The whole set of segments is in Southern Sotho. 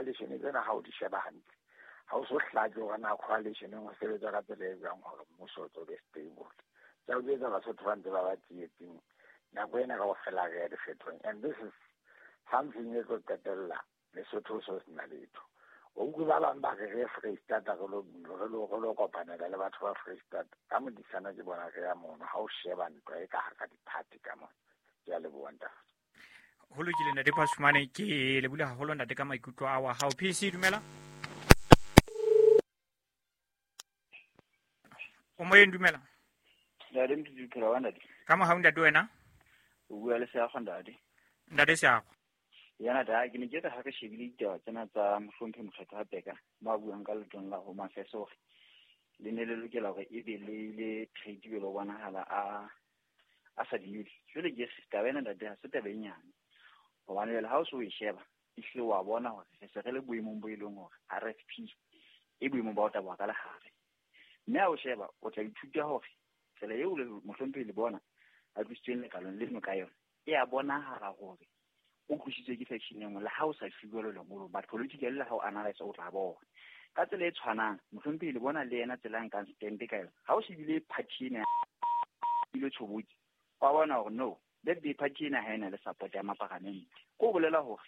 Di-coalition tsena ha o di sheba hantle, ha o so hlake hore na coalition-eng ho sebetswa ka tsela e jwang hore mmuso o tlo be stable. Ke a o jwetsa, Basotho ba ntse ba ba tsietsing nako ena kaofela, re ya dikgethong, and this is something e tlo qetella Lesotho o so sena letho. O utlwe ba bang ba re re ye Freistata, re lo kopanela le batho ba Freistata ka modisana. Ke bona re ya mono ha o sheba ntwa e ka hara di-party ka mona. Ke a leboha, ntate. Ho lokile, ntate Phasumane, ke lebule haholo, ntate, ka maikutlo a wa hao. PC, dumela, o moyeng, dumela. Ntate Mtutu, phela wa ntate? Ka mohau, ntate, wena? O bua le Seago, ntate. Ntate Seago. Ya ntate, ke ne ke re ha re shebile ditaba tsena tsa mohlomphe Mokgetho Peka ba buang ka letong la Home Affairs hore le ne le lokela hore ebe le ile trade le ho bonahala a sa dumele. Jwale ke re taba ena, ntate, ha se taba e nyane, hobane jwale ha o se o e sheba, ehlile wa bona hore re se re le boemong bo e leng hore RFP e boemong ba ho taboha ka lehare. Mme ha o sheba, o tla ithuta hore tsela eo le mohlomphehi le bona a tlositsweng lekalong leno ka yona e a bonahala hore o tlositswe ke faction e nngwe, le ha o sa fiwe le lengolo, but politically le ha o analyse o tla bona. Ka tsela e tshwanang, mohlomphehi le bona le yena tsela a nkang stand ka yona, ha o shebile party ena ile tshobotsi, wa bona hore no, that day party ena ha ena le support ya maparamente. Ko bolela hore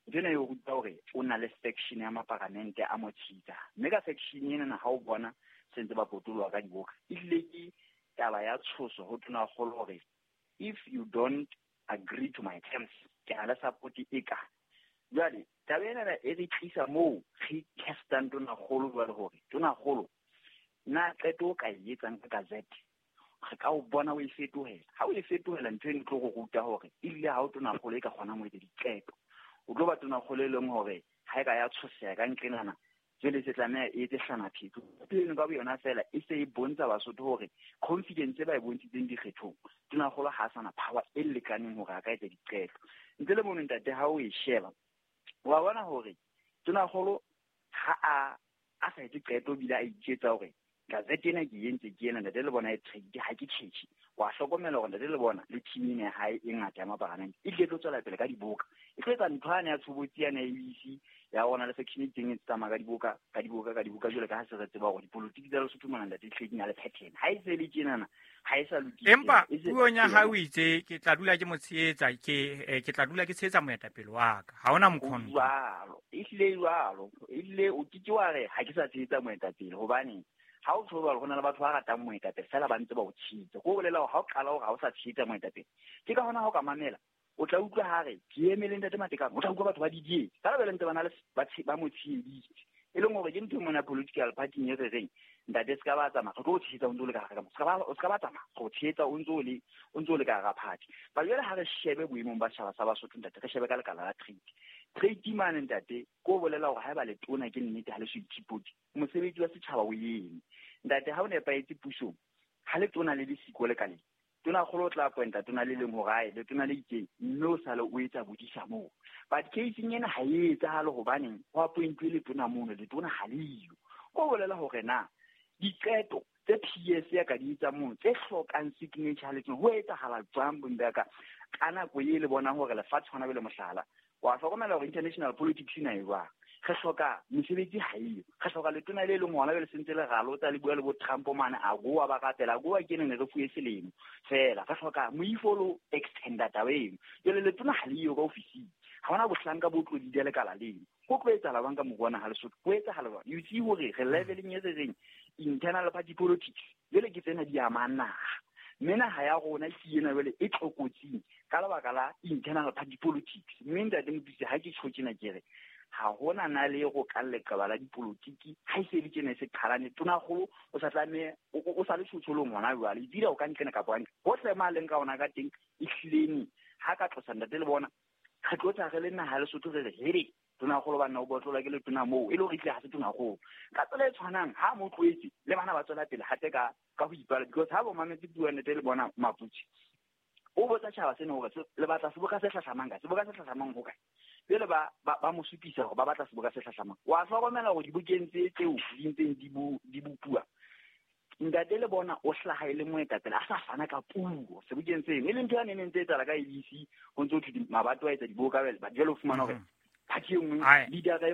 ntho ena e o ruta hore o na le faction ya maparamente a mo tshitsa, mme ka faction ena ha o bona sentse ba potoloha ka diboka, ehlile ke taba ya tshoso ho tonakgolo hore if you don't agree to my terms, ke na le support e ka. Jwale taba ena e re tlisa moo re testang tonakgolo jwale hore tonakgolo na qeto o ka e etsang ka gazette re ka o bona o e fetohela. Ha o e fetohela, ntho eno e tlo go ruta hore ebile ha o tonakgolo e ka kgonang ho etsa diqeto, o tlo ba tonakgolo e leng hore ha e ka ya tshoseha ka nqenana, jwale se tlameha e etse hlanaphepho eno ka boyona fela e se e bontsha Basotho hore confidence e ba e bontshitseng dikgethong, tonakgolo ha a sana power e lekaneng hore a ka etsa diqeto. Ntle le mono, ntate, ha o e sheba, wa bona hore tonakgolo ha a sa etse qeto, ebile a iketsa hore gazette ena ke entse ke ena, ntate le bona e trade ha ke tjhetjhe. Wa hlokomela hore ntate le bona le team ena ya hae e ngata ya maparamente e tlile tlo tswela pele ka diboka, e tlo etsa ntho yane ya tshobotsi yane ya ABC ya rona le faction e teng e tsamaya ka diboka, ka diboka, ka diboka. Jwale ka ha se re tseba hore dipolotiki tsa Lesotho mona, ntate, hlile di na le pattern, ha e se le tjenana ha e sa lokile. Empa puong ya hao o itse ke tla dula ke mo tshehetsa, ke tla dula ke tshehetsa moetapele wa ka, ha hona mokhono. Jwalo ehlile jwalo, ehlile o ke ke wa re ha ke sa tshehetsa moetapele, hobane ha o tjho jwalo, ho na le batho ba ratang moetapele fela ba ntse ba o tshehetsa. Ko bolela hore ha o qala hore ha o sa tshehetsa moetapele, ke ka hona ha o ka mamela, o tla utlwa ha re ke emele ntate Matekane, o tla utlwa batho ba didietse ka lebele ntse ba na le ba mo tsheheditse, e leng hore ke ntho e mona political party e re reng, ntate, se ka ba tsamaya, re tlo o tshehetsa o ntse o le ka hare ka mo, o se ka ba tsamaya, re o tshehetsa o ntse o le ka hara party. Ba jwale ha re shebe boemong ba setjhaba sa Basotho, ntate, re shebe ka lekala la trade mane, ntate, ko bolela hore haeba letona ke nnete ha le so ithipoti, mosebetsi wa setjhaba o eme, ntate. Ha o nepahetse pusong, ha letona le le siko lekaleng, tonakgolo o tla appointa tona le leng hore ae letona le itseng, mme o sale o etsa bodisa moo. But caseng ena ha e etsahale, hobaneng ho appointuwe letona mono, letona ha le yo? Ko bolela hore na diqeto tse PS ya ka di etsang mono tse hlokang signature letona, ho etsahala jwang bonde ka ka nako e le bonang hore lefatshe hona bele? Mohlala, wa hlokomela hore international politics ena e jwang, re hloka mesebetsi ha eyo, re hloka letona le leng hona jwale se ntse le ralotsa le bua le bo Trump mane a goa ba rapela goa ke ne re fuwe selemo fela, re hloka moifo lo extenda taba eno. Jwale letona ha le yo ka ofising, ha hona bohlanka bo tlo leada lekala leno, ho tlo etsahala jwang ka moruo wa naha Lesotho? Ho etsahala jwang? You see hore re leveleng e re reng internal party politics, jwale ke tsena di amang naha, mme naha ya rona ke ena jwale e tlokotsing ka lebaka la internal party politics. Mme ntate Motuse, ha ke tjho tjena, ke re ha hona na le go ka leqeba la dipolotiki ha e se le tjena e se qhalane. Tonakgolo o sa tlameha o sa le tshotsholoong hona jwale, ebile o ka nqena kapa hantle hohle ma leng ka ona ka teng. Ehlileng ha ka tlosa ntate le bona, re tlo tla re le naha Lesotho re re hele tonakgolo banna o botlola ke letona moo, e le hore ehlile ha se tonakgolo. Ka tsela e tshwanang, ha mo tlohetse le bana ba tswela pele hape ka ho ipala, because ha bo mametse puo nete le bona Maputsi o botsa tjhaba sena hore le batla seboka se hlahlamang kae, seboka se hlahlamang ho kae. Jwale ba mo supisa hore ba batla seboka se hlahlamang. Wa hlokomela hore dibokeng tse tseo di ntseng di bopuwa, ntate le bona o hlaha e le moetapele a sa fana ka puo sebokeng seno, e leng ntho ya neng ntse etsahala ka ABC, ho ntso thwe mabato a etsa diboka, jwale o fumana hore party e nngwe, leader e nngwe.